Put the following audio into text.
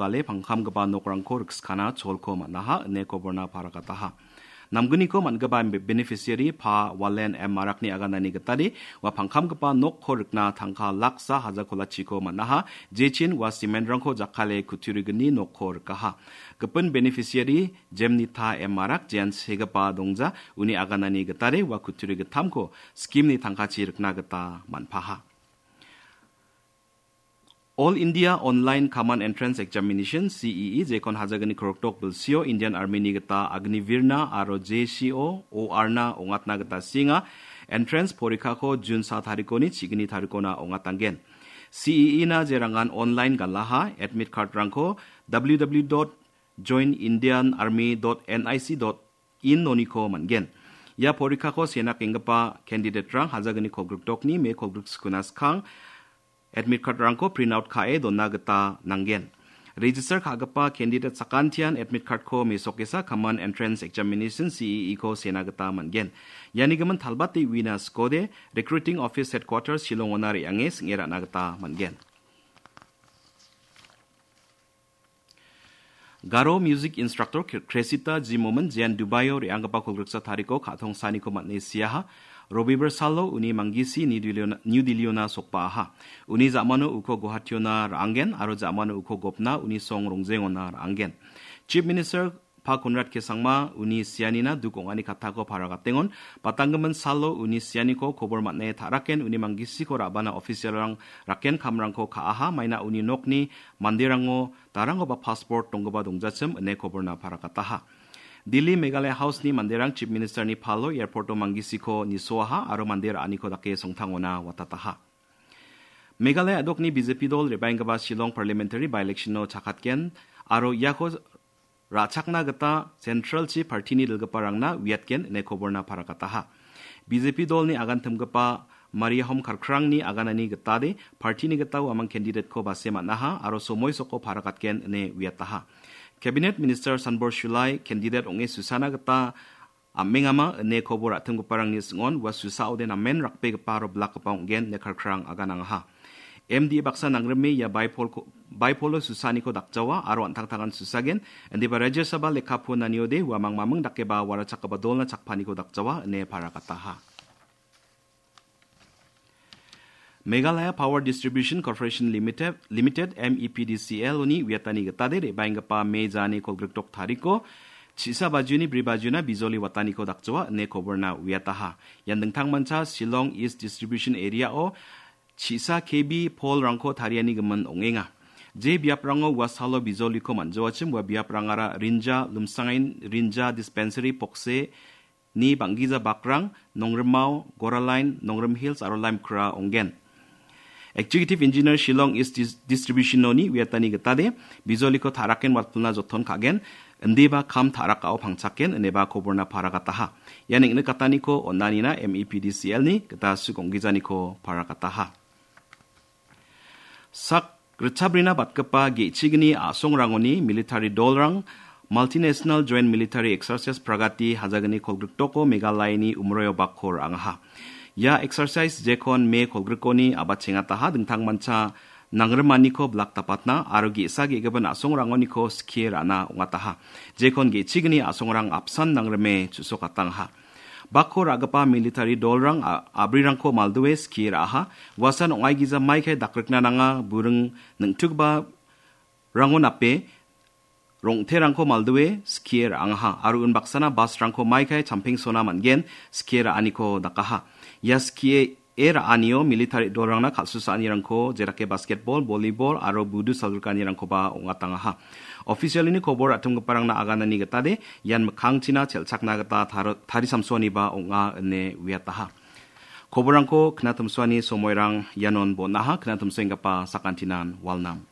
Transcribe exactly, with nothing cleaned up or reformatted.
dale pangkamgipa nokrangko rikskana cholko man·aha ine koborna parakataha. Namgniko man·gipa be-, beneficiary Pa Walen M Marakni aganani gitade ua pangkamgipa nokko rikna tangka laksa haja kolachiko man·aha, jechin ua cementrangko jakkale kutturigni nokko rikaha. Gipin beneficiary Jemnita M Marak jean segipa dongja, uni aganani gitade ua kutturi gittamko scheme-ni tangkachi rikna gita man·paha. All India Online Common Entrance Examination, C E E, jekon hajagni korokdok bilsio Indian Army-ni gita Agniveer-na aro J C O O R-na ong·atna gita sienga. Entrance porikako June sa tarikoni chigni tarikona ong·atanggen. C E E-na jerangan online galaha, admit card-rangko W W W dot join indian army dot N I C dot in noniko man·gen. Ia porikako sena kenggipa candidate-rang hajagni kolgrikdokni me kolgrik skuna skang admit card-rangko print out ka·e dona gita nanggen. Register ka·gipa candidate sakantian admit card-ko mesokesa Common Entrance Examination, C E E-ko sena gita man·gen. Iani gimin talbate uina skode Recruiting Office Headquarters Shillong-ona re·ange sing·e ra·na gita man·gen. Garo music instructor Kre-, Kresita Jimomin jean Dubaio re·anggipa kolgriksa tariko ka·tong saniko man·e siaha. Robibar salo uni manggisi New Delhi-ona, New Delhi-ona sokbaaha. Uni ja·mano uko Guwahationa ra·anggen aro ja·mano uko gopna uni song Rongjengona ra·anggen. Chief Minister Pa Conrad K Sangma uni sianina duk ong·ani kattako paragatengon, batanggimin salo uni sianiko kobor man·e ta·raken uni manggisiko ra·bana official-rang raken kamrangko ka·aha, maina uni nokni manderango darangoba passport donggipa dongjachim ine koborna paragataha. Delhi Meghalaya House-ni manderang Chief Minister-ni palo airport-o manggisiko nisoaha aro mande ra·aniko dake songtangona watataha. Meghalaya a·dokni B J P dol re·baenggipa Shillong Parliamentary by-election-o chakatgen aro iako ra·chakna gita Central-chi party-ni dilgiparangna uiatgen ine koborna paragataha. B J P dolni agantimgipa Mariahom Karkrangni aganani gitade party-ni gita uamang candidate-ko base man·aha aro somoi soko paragatgen ine uiataha. Cabinet Minister Sanbor Shulai candidate ong·e susana gita am·engama ine kobo ra·timgiparangni sing·on ua susaode namen rakbegipa aro bilakgipa ong·gen ine Karkrang aganangaha. M D A baksa nangrime ia baipolko-, baipolo susaniko dakjawa aro an·tangtangan susagen, indiba Rajya Sabha lekkapu naniode uamang maming dakeba warachakgipa dolna chakpaniko dakjawa ine paragataha. Meghalaya Power Distribution Corporation Limited, Limited, M E P D C L-oni uiatani gitade re·baenggipa Me jani kolgrikdok tariko, chisa bajioni bri bajiona bijoli wataniko dakjawa ine koborna uiataha. Ian dingtangmancha Shillong East Distribution Area-o chisa K B polrangko tariani gimin ong·enga. Je biaprango ua salo bijoliko man·jawachim ua biaprangara Rinja, Lumsangain, Rinja Dispensary, Pokse, ni bang·gija bakrang, Nongrimao, Goralain, Nongrim Hills aro Limekra ong·gen. Executive Engineer Shillong East Dis-, Distribution-oni uiatani gitade, bijoliko ta·raken watpilna joton ka·gen, indiba kam ta·rakao pangchaken, ineba koborna paragataha. Ia neng·nikataniko on·anina M E P D C L-ni gita sik ong·gijaniko paragataha. Sak ritchabrina batgipa ge·chigni a·songrangoni military dolrang Multinational Joint Military Exercise Pragati hajagni kolgrikdoko Meghalayani umroio bakko ra·angaha. Ia exercise jekon Me kolgrikoni abatchengataha dingtangmancha nangrimaniko bilak dapatna aro ge·sa ge·gipa a·songrangoniko skie ra·na ong·ataha. Jekon ge·chigni a·songrang apsan nangrime chu·sokatangaha. Bakko ra·gipa military dolrang a-, a·brirangko maldue skie ra·aha. Uasan ong·aigija maikai dakrikna nanga, buring ning·tukgipa rango nape rong·terangko maldue skie ra·angaha. Aro unbaksana basrangko maikai champengsona man·gen skie ra·aniko dakaha. Ia skie e ra·anio military dolrangna kal·susaanirangko, jedake basketball, volleyball aro budu salgrikanirangkoba ong·atangaha. Officialni kobor ra·tomgiparangna aganani gitade ian mikkangchina chelchakna gita taro-, tarisamsoaniba ong·a ine uiataha. Koborrangko knatimsoani somoirang ianon bon·aha, knatimsoenggipa sakantinan walnam.